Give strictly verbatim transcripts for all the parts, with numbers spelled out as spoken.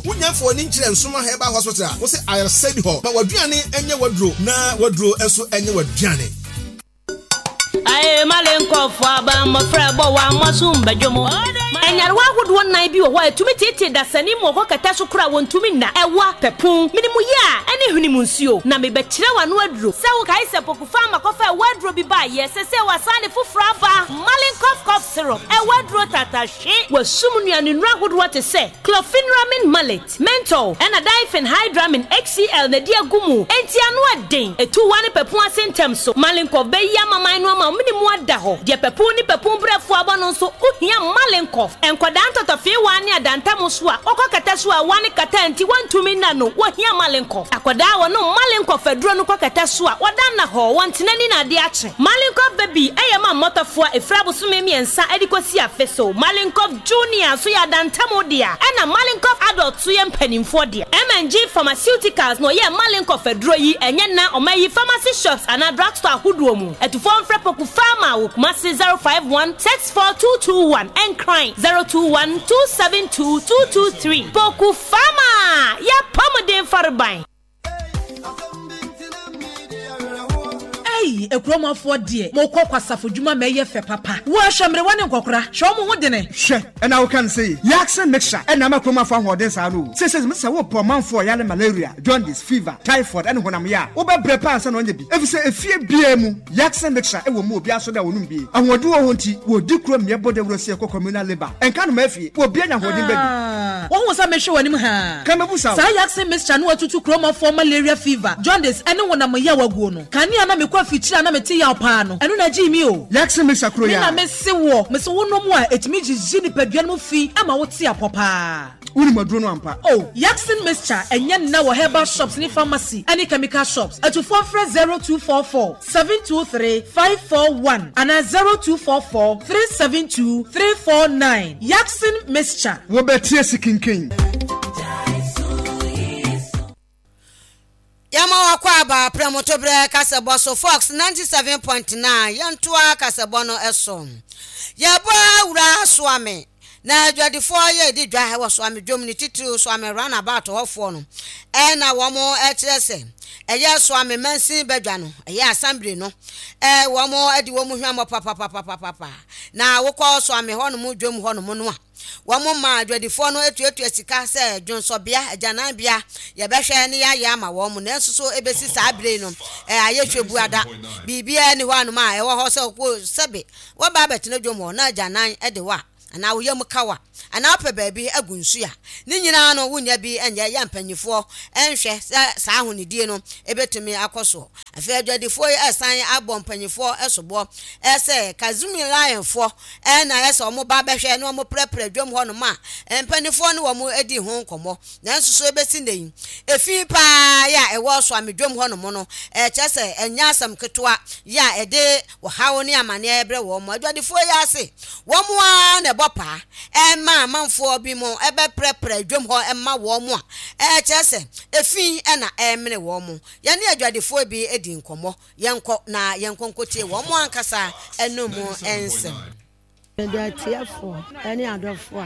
Wonya mfa w'ani nkyerɛ Nsoma Herbal Hospital a, wo se ayaresa ni hɔ. Ma w'aduane nyɛ w'aduro na w'aduro nso nyɛ w'aduane. Ae malenkɔfo aba mmɔfra bɔ wɔn amoaso mbadwom. Nyarewa ahodoɔ nnan bi wɔ hɔ a ɛtumi teetee dasani mu ɔkɔ kɛtɛ so koraa wɔntumi nna. Ɛwa, pɛpun, menem yea ɛne hwene mu nsuo. Na mebɛkyerɛ w'ano aduro. Sɛ wokae sɛ Pokufa makɔfa ɛwa aduro bi baeɛ, sɛsɛ wasan de foforɔ aba. Malenkɔf cough syrup, ɛwa aduro tatahwe. Wasum nnuane nnuro ahodoɔ te sɛ chlorpheniramine maleate, menthol, ɛna diphenhydramine H C L na ɛde agu mu. Enti ano ɛden. Ɛtu wa ne pɛpun ase ntɛm so. Malenkɔf bɛyi amaman no ama wo mene mu ada hɔ. Deɛ pɛpun ne pɛpun brɛfoɔ abɔ no nso, wohia Malenkɔf. Nkwadaa ntɔtɔfeewa ne adantam so a wɔkɔ kɛtɛ so a wa ne kata nti wɔntumi nna no, wɔhia Malenkɔf. Akwadaa a wɔnom Malenkɔf aduro no kɔ kɛtɛ so a wɔda nna hɔ, wɔntena ni na ade akye. Malenkɔf Baby ɛyɛ ma mmɔtɔfoɔ a ɛfiri abosome mmiɛnsa de kɔsi afe so. Malenkɔf Junior nso yɛ adantam dea, ɛna Malenkɔf Adult nso yɛ mpanimfoɔ dea. M G Pharmaceuticals na ɔyɛ Malenkɔf aduro yi. Ɛnyɛ na ɔma yi pharmacy shops anaa drugstore ahodoɔ mu. Atufoɔ mfrɛ Poku Pharma wɔ Kumase zero five one six four two two one, Nkran zero two one two seven two two two three. Poku Pharma, yɛ pɔmuden fareban. Ei, ekuromafoɔ deɛ, mokɔ kwasafo dwuma ma ɛyɛ fɛ papa. Wɔahwɛ mmerewa ne nkɔkora, hwɛ ɔmo ho dene. Hwɛ, ɛna woka no sɛ Yakson mixture ɛna ama kuromafo ahoɔden saa no o. Sɛsɛ sɛ wopɔ ɔmanfoɔ yale malaria, jaundice, fever, typhoid ɛne honam yɛ a, wobɛbrɛ paa ansa na ɔnyɛ bi, ɛfiri sɛ efie biara mu Yakson mixture ɛwɔ mu. Obi aso da wɔnom bie, ahoɔden wɔ hɔ nti wɔdi kuro mmeɛ bɔ dawuro sɛ ɛkɔ communal labour ɛnka no ma afie wɔbia nya ahoɔden baabi. Wɔn sɛ mehwɛ w'anim haa. Ka mɛbu sa. Saa Yakson mixture no watutu kuromafoɔ malaria, fever, jaundice ɛne honam yɛ waguo no. Kanea na mekɔ afikyiri a na mete yaw paa no, ɛno na gyee mi o. Yakson mixture kuro me yɛ na mese wɔ mese wonom a ɛtumi gyigyi nipadua no mu fi ama wote apɔ paa. Wonim aduro no ampa. Oh, Yakson mixture ɛnyɛ nna wɔ herbal shops ne pharmacy ɛne chemical shops. Atufoɔ frɛ zero two four four seven two three five four one anaa zero two four four three seven two three four nine. Yakson mixture. Wobɛtie si kinkin. Yɛma wakɔ aba prɛmotoberɛ kasɛbɔ so, Fox ninety-seven point nine. Yɛntoa kasɛbɔ no so. Yɛbɔ awura Soame na adwadifoɔ yɛ di dwa wɔ Soame dwom ne titiriw Soame roundabout hɔfoɔ no, ɛna wɔn kyerɛ sɛ ɛyɛ Soame mansin badwa no, ɛyɛ assembly no, ɛ wɔn de wɔn hwamɔ papapapapapa. Na wokɔ Soame hɔnom dwom hɔnom no a, wɔn ma adwadifoɔ no etuatua sika sɛ dwonsɔbea, agyananbea, yɛbɛhwɛ ne yɛayɛ ama wɔn mu. Nanso so ebesi saa abere no, ɛ ayɛ hwɛ bu ada, biribiara ni hɔ anom a ɛwɔ hɔ sɛ kɔ sɛbe wɔba abɛtena dwom hɔ na agyanan de wɔ a, anaa woyɛ mu kawa, anaa wopɛ baabi agu nsu a, ne nyinaa no wonya bi nyɛ. Yɛ mpanyinfoɔ nhwɛ sɛ saa ahonidie no ebɛtumi akɔ soɔ. Afei adwadifoɔ yi ɛsan abɔ mpanyinfoɔ ɛsoboɔ ɛsɛ Kazumi Lionfoɔ ɛna ɛsɛ wɔn ba bɛhwɛ na wɔn prɛprɛ dwam hɔnom a mpanimfoɔ ne wɔn adi ho nkɔmmɔ. Nanso so ebesi ne yi, efi paa yɛ a ɛwɔ Soame dwam hɔnom no, ɛkyɛ sɛ ɛnyɛ asɛm ketewa yɛ a ɛde ɔhaw ne amanneɛ brɛ wɔn mo. Adwadifoɔ yi ase wɔn ara na ɛbɔ paa ɛma amanfoɔ bi mo ɛbɛprɛprɛ dwam hɔ ɛma wɔn mo a ɛkyerɛ sɛ efi ɛna ɛmene wɔn mo. Yɛne adwadifoɔ bi edi nkɔmmɔ. Yɛnkɔ na yɛnkɔ nkɔtie wɔn mo ankasa ɛnum nsɛm. Mede atiefoɔ ne adɔfoɔ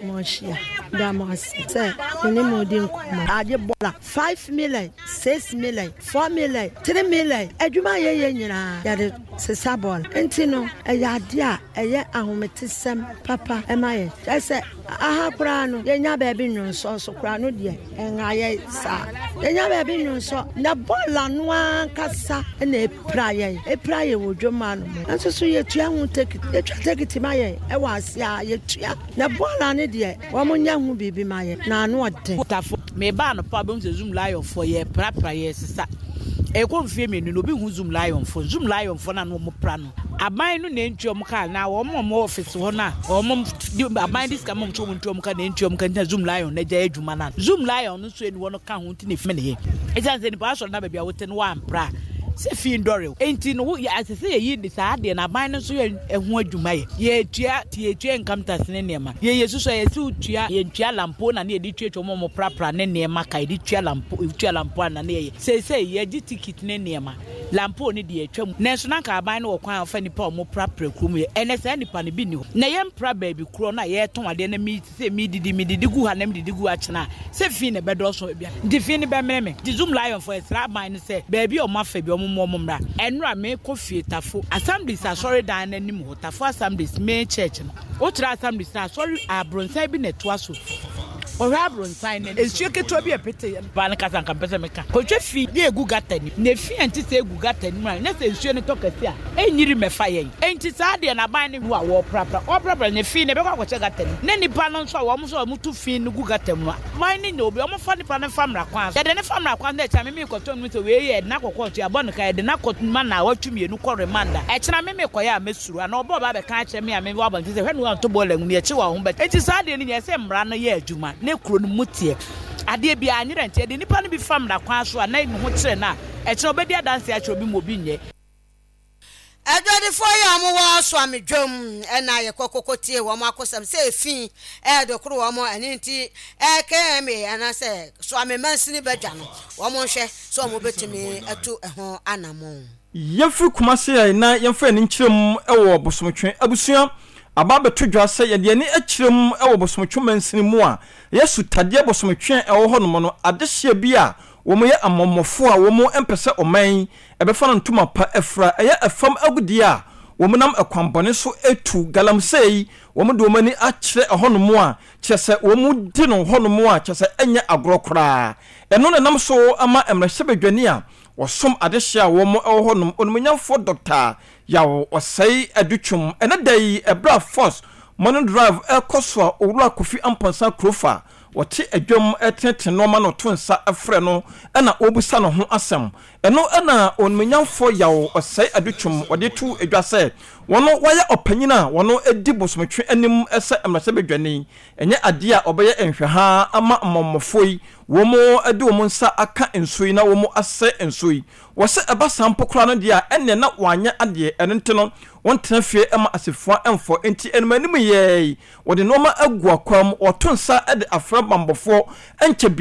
a moahyia da mo ase sɛ me ne mo di nkɔmmɔ. Agye bɔla five million, six million, four million, three million. Adwuma a yɛyɛ nyinaa yɛde sesa bɔɔla nti no, ɛyɛ adeɛ a ɛyɛ ahometesɛm papa ɛma yɛn. Kyerɛ sɛ aha koraa no, yɛnya baabi nnwonsɔ so koraa no deɛ, ɛnha yɛ saa. Yɛnya baabi nnwonsɔ na bɔɔla no ankasa na ɛpira yɛn, ɛpira yɛn wɔ dwom ano mu. Nso so yɛtua ho ticket, yɛtwa ticket ma yɛn ɛwɔ ase a yɛtua na bɔɔla no deɛ, wɔn nyɛ ho biribi ma yɛn na ano ɔden. Tafo meba anɔpa bɛhu sɛ Zoom Lionfoɔ yɛ prapra, yɛ sesa. Ɛkɔ mfie mmienu no, obi hu Zoom Lionfoɔ. Zoom Lionfoɔ no a na wɔn pra no, aban no na ntua wɔn kaa na wɔn a wɔn office hɔ no a wɔn de aban de sika ma wɔn sɛ wɔn ntua wɔn ka na ntua wɔn ka ntina Zoom Lion na gya adwuma no. Zoom Lion no nso eni hɔ no ka ho nti na efi ne yɛ ɛsiane sɛ nipa asɔrɔ na baabi a wote no wampra sɛ fi ndɔre. Nti no yɛ asɛ sɛ yɛyi de saa adeɛ na aban no nso yɛ ɛho adwuma. Yɛ yɛtua yɛtua income tax ne nneɛma yɛyɛ soso a yɛsi tua, yɛntua lampo na ne yɛde tuatua wɔn a wɔprapra ne nneɛma ka, yɛde tua lampo, tua lampo ana ne yɛyɛ seesei yɛgye ticket ne nneɛma. Lampo ne deɛ atwa mu, nanso na nka aban no wɔ kwan a ɔfa nipa a ɔmo prapra kurom yɛ. Ɛnɛ saa nipa no bi ni hɔ na yɛmpra baabi korɔ no a yɛtɔn adeɛ na mi sɛ mi didi mi didi gu ha na mi didi gu akyena sɛ fi na ɛbɛdɔɔso baabi a nti fi ne bɛmene me. Nti Zoomlion fo, ɛsrɛ aban no sɛ baabi a ɔmo afa bi, ɔmo mo ɔmo mmra. Ɛnora mekɔ fie, Tafo Assemblies asɔredan n'anim hɔ, Tafo Assemblies main church no, wokyerɛ Assemblies na asɔre abrɔnsan bi na ɛtoa so, ɔhwɛ abrɔnsan no, nsuo ketewa bi a ɛpete yɛ paa no kasa nka mpɛ sɛ meka kɔtwa fi bi egu gutter nim na efi a nti sɛ egu gutter nim a ne sɛ nsuo no tɔ kɛse a ɛnyiri mɛfa yɛn. Enti saa deɛ n'aban no hu a wɔprapra wɔprapra ne fi na ɛbɛkɔ akɔhyɛ gutter nim na nipa no nso a wɔn nso a wɔn tu fi no gu gutter mu no, aban no nya obi wɔn fa nipa no fa mmara kwan so, yɛde ne fa mmara kwan so na ɛkyɛn mímí kɔtɔ no sɛ wei yɛ ɛdina kɔkɔɔ to yɛabɔ ne ka, yɛde n'akɔ ma na awɔtwe mmienu kɔ remand a ɛkyɛn mímí kɔyɛ a mɛsuro ana ɔbɔ ɔba abɛka akyerɛ mi a mi wɔ abɔnten sɛ hwɛ no wanto bɔɔla mu yɛkyi wɔ ho bɛ. Enti saa deɛ no nyɛ sɛ mmara no yɛ adwuma ne kuro no mu teɛ adeɛ bi anyerɛ, nti yɛde nipa no bi fa mmara kwan so a na ne ho kyerɛ no a ɛkyerɛ ɔbɛdi adanse akyerɛ obi ma obi nyɛ. Adwadifoɔ yi a wɔwɔ Suame dwam ɛna yɛkɔ koko tie wɔn akosɛm sɛ efi ɛɛdo koro wɔn ɛne nti ɛkma anaasɛ Suame mansini bɛdwa no, wɔn nhwɛ sɛ wɔn bɛtumi atu ɛho anammɔn. Yɛmfiri Kumase a na yɛmfa yɛn nkyerɛ mu wɔ Bosomtwe. Abusua, aba abɛto dwa sɛ yɛde ani akyerɛ mu wɔ Bosomtwe mansini mu a ɛyɛ Sutadeɛ Bosomtwe a ɛwɔ hɔnom no, adehyeɛ bi a wɔn yɛ amɔmmɔfoɔ a wɔn mpɛ sɛ ɔman ɛbɛfa no ntoma pa afira, ɛyɛ ɛfam agudeɛ a wɔn nam ɛkwanbɔne so etu galamsey, wɔn de wɔn ani akyerɛ ɛhɔnom a kyerɛ sɛ wɔn di no hɔnom a kyerɛ sɛ ɛnyɛ agorɔ koraa. Ɛno na nam so ama mmarahyɛbadwani a wɔsom adehyeɛ a wɔn wɔ hɔnom, onimonyamfoɔ Doctor Yaw Ɔsɛe Adutwum, ɛnɛ da yi ɛberɛ a Force Morning Drive ɛkɔ so a Owura Kofi Ampɔnsa Kurofa wɔte adwam ɛtenetene nneɛma na ɔto nsa ɛfrɛ no ɛna ɔrebusa ne ho asɛm. Ɛno ɛna onimonyamfoɔ Yaw Ɔsɛe Adutwum wɔde to adwa sɛ wɔn wɔayɛ ɔpanyin a wɔn di Bosomtwe anim sɛ mmarahyɛbadwani, ɛnyɛ adeɛ a ɔbɛyɛ nhwɛha ama mmɔmmɔfoɔ yi wɔn de wɔn nsa aka nsuo yi na wɔn asɛ nsuo yi. Wɔsɛ ɛba saa mpo koraa no deɛ a ɛnneɛ na wɔanyɛ adeɛ. Ɛno nti no wɔntena fie ma asefua mfɔ nti anim anim yɛɛ wɔde nneɛma agu akwam, wɔto nsa de afrɛ bambɔfoɔ nkyɛ.